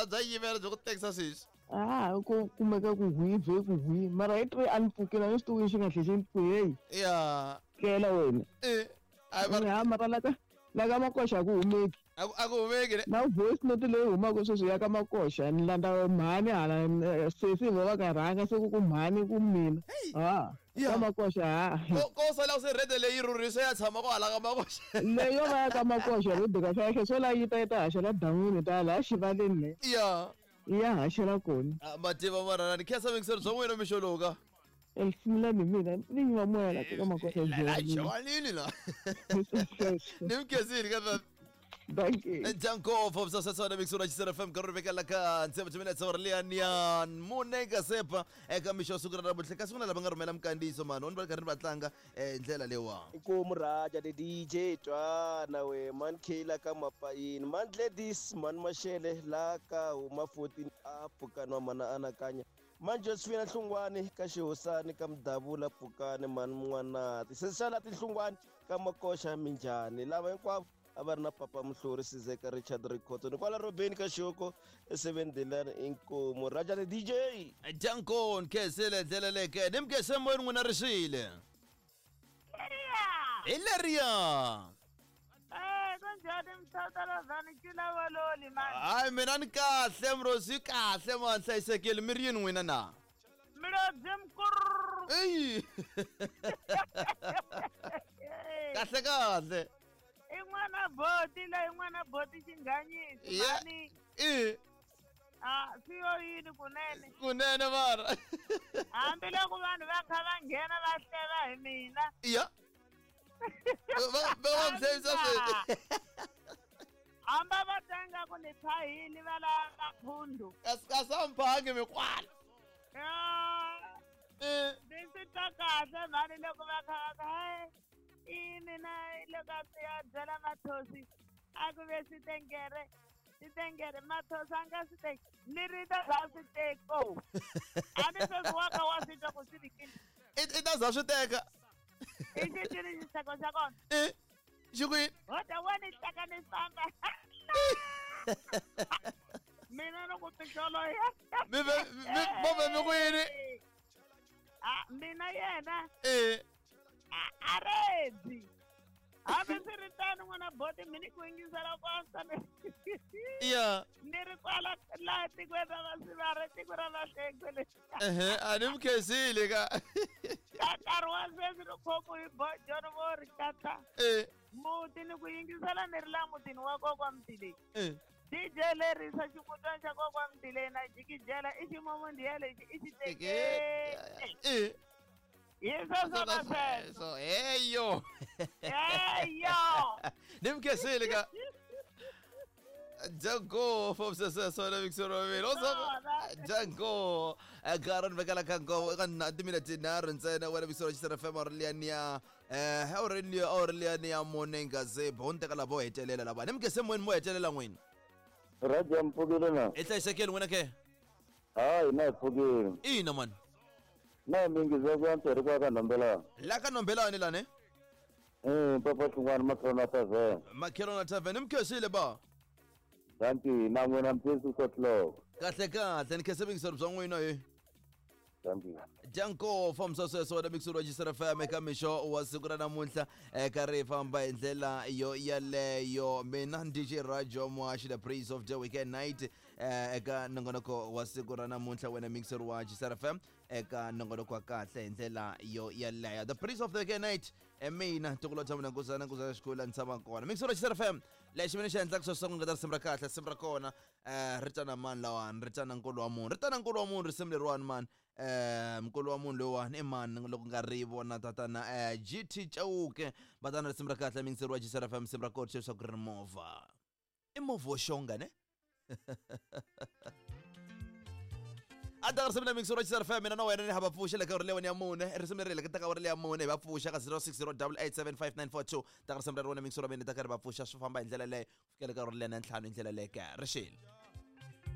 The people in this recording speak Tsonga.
Bya yimela byi ku tekisa sweswi. A ku kumeka ku hwi vhe ku hwi mara hi 3 a ni pfukile a ni swi tivi xi nga tlhe xi ni pfu heyi. Ya. Tlela wena. Eh. Ai mara Ha mara la ka Makoxa a ku humeki. A ku humeki ne. Na voice note leyi humaka sweswi ya ka Makoxa ni landza mhani hala sesi vo va ka rhanga se ku ku mhani ku mina. Ha. Ka Makoxa ha. Ko sala se rede leyi rhurhisa ya tshama ko hala ka Makoxa. Leyo va ya ka Makoxa rede ka kahle so la yi ta yi ta haxela dan'wini ta laha xivaleni le. Ya. Ya haxela kona. Mativa marana ni khensa mingiselo bya n'wina mixo lowu ka. Esimulani mina ni nyima moya la ka Makoxa La jwanini la. Ni mkhensile ka Thank you. Janko from Sasasana Mixura Chisera FM karuri veka la ka 70 minutes or liania munenga sepa eka mixo siku ra namuntlha kasi ku na lava nga rhumela minkandziyiso mani va karhi va tlanga ndlela leyiwa. Inkomu Raja the DJ twana we man K la ka Mapayini man Gladys man Mashele la ka huma 14 a pfukani wa mana anakanya man Josephine Hlungwani ka Xihosani ka Mudavula pfukani man N'wanati sesana tinhlungwani ka Makoxa minjhani lava hinkwavo a va ri na papa Muhluri Sizeka Richard Rikhotso ni kwala Robeni ka Xoko e7 Delani inkomu Raja the DJ. Janko nkhensile ndlela leke ni mukhense moyeni n'wina ri xile. Hi leriya. Kunjhani mthathalazani cula valoli mani? Hayi mina ni kahle mrozi kahle mani hlayisekile mi ri yini n'wina na? Mlodzi mkurr. Eyi. Kahle kahle. I n'wana boti la i n'wana boti xinghanyisi mani. I. A swi yo yini kunene. Kunene mara. Hambi loko vanhu va kha va nghena va hleva hi mina. Ya. Va va mi hlevisa sweswi. Hamba va tanga ku ni phahili va lava phundu. Kasi a mi phangi mikwala. Ya. Ni swi twa kahle mhani loko va kha va ku i mina loko a ya byela Mathosi a ku ve swi tengere swi tengere Mathosi a nga swi teki ni ri ta za swi teko a ni sweswi wa kha wa swi twa ku swi rikini I ta za swi teka. I xi tini xiseko xa kona. Xi ku yini? Hoda wa ni teka ni famba. Mina ni ku tixolo ya. Mi ve mi va mi ku yini? Mina yena. A redzi. Hambi swi ri tano n'wana boti mi ni ku yingisela ku antswa Ya. Ni ri kwala laha tikweni ra Vasivara tiko ra Vahlengwe le. Ehe a ni mi khensile ka. Ka nkarhi wa sweswi ni khomiwe hi bojoni vo ri katla. Muti ni ku yingisela ni ri laha mutini wa kokwa Mtileni. DJ lerisa ximutwana xa kokwa Mtileni na jikijela i ximomondiya lexi i xi teke. Hi sweswo na sweswo. Heyo. Heyo. Ni mi khensile ka. Janko from Sasasona Mixoro Milo. Janko Garan vekela ka nkovo eka na timinete tinharhu ntsena wena Mixoro Chisera FM Aureliania Aurelia Aureliania Monenga Zeb ho ni teka lavo hetelela lava ni mi khensile moyeni mo hetelela n'wina. Raja mpfukile na. I hlayisekile n'wina ke? Hayi na hi pfukile. Ina mani. Na mingi za ku antswa ri kwa ka Nombelani. La ka Nombelani lani? Papa Hlungwani Makhelwana Tavern. Makhelwana Tavern mi khensile ba. Thank you. Na n'wina mphesi o'clock. Kahle kahle ni khense vingiselo bya n'wina he. Thank you. Janko famisa sweswo wena Mixuro wa Chisera FM eka mixo wa siku ra namuntlha eka ri famba hi ndlela yo yaleyo. Mina DJ Rajo Muhaxi the Praise of the Weekend Night eka nongonoko wa siku ra namuntlha wena Mixuro wa Chisera FM eka nongonoko wa kahle hi ndlela yo yaleyo. The Praise of the Weekend Night mina ntukulu tshama na nkosana nkosana xikolo ni tshama kona. Mixuro wa Chisera FM lexi mina xi endlaka sweswo ku nga ta risimu ra kahle risimu ra kona ri tana mani lawani ri tana nkulu wa munhu ri tana nkulu wa munhu risimu leriwani mani nkulu wa munhu loyiwani i mani loko nga ri vona tatana GT Chauke va tana risimu ra kahle mingiseri wa Chisera FM risimu ra kona leswaku ri movha i movha wo xonga ne a ta risimu la mingiseri wa Chisera FM mina na wena ni hava pfuxa le ka uri leyiwani ya mune risimu leri le ka ta uri leya mune hi va pfuxa ka 0608875942 ta risimu ra rona mingiseri wa mina ta karhi va pfuxa swi famba hi ndlela leyo ku fikela ka uri leya na ntlhanu hi ndlela leyo ka ri xile.